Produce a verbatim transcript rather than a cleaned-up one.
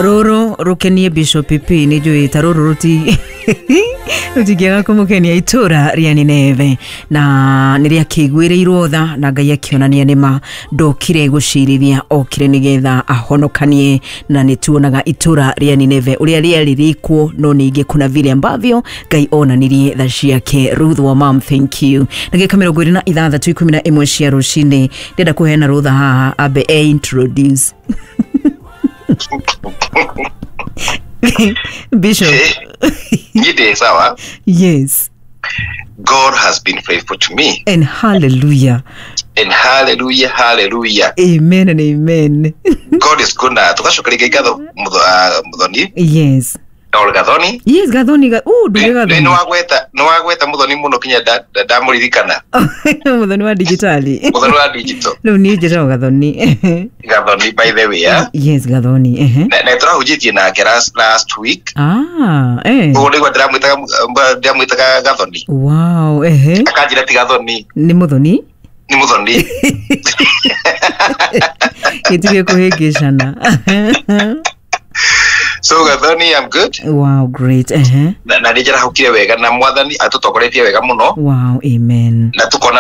Rũrũ rũkenie Bishop P nĩ njũĩ ta rũrũ rũti rũtingĩaga kũmũkenia. Itũra rĩa Nineve na nĩ rĩakĩiguĩrĩirwo tha na Ngai akĩonania nĩma ndokire gũcirithia, okire nĩgetha ahonokanie. Na nĩ tuonaga itũra rĩa Nineve ũrĩa rĩarĩ rĩkwo, no ningĩ kuna vile ambavyo Ngai onanirie tha ciake. Ruth wa mam, thank you. Ndagĩka mĩrongo ĩrĩ na ithathatũ ikũmi na ĩmwe cia rũcinĩ, ndĩrenda kũheana rũtha haha ambe e introduce Bishop. Nyide sawa. Yes. God has been faithful to me. And hallelujah. And hallelujah, hallelujah. Amen and amen. God is good. Na tugacokeria ngatho Muthoni. Yes. Or Gathoni. Yes, Gathoni. Ga oh, nduge Gathoni. Nĩ wagweta, nĩ wagweta Muthoni mũno kinya ndamũririkana. Muthoni wa digitali. Muthoni wa digital. Rĩu niĩ njĩtagwo Gathoni. Gathoni, by the way, yeah? Yes, Gathoni. Ehe. Na na tũrahunjĩtie nake last last week. Ah, eh. Koguo nĩguo ndĩramwĩtaga ndĩramwĩtaga Gathoni. Wow, ehe. Akanjĩra ti Gathoni. Nĩ Muthoni? Nĩ Muthoni. Gĩtige kũhĩngĩcana. So Gathoni, I'm good. Wow, great. Uh-huh. Na na nĩ njarahũkire wega na Mwathani atũtongoretie wega mũno. Wow, amen. Na tukona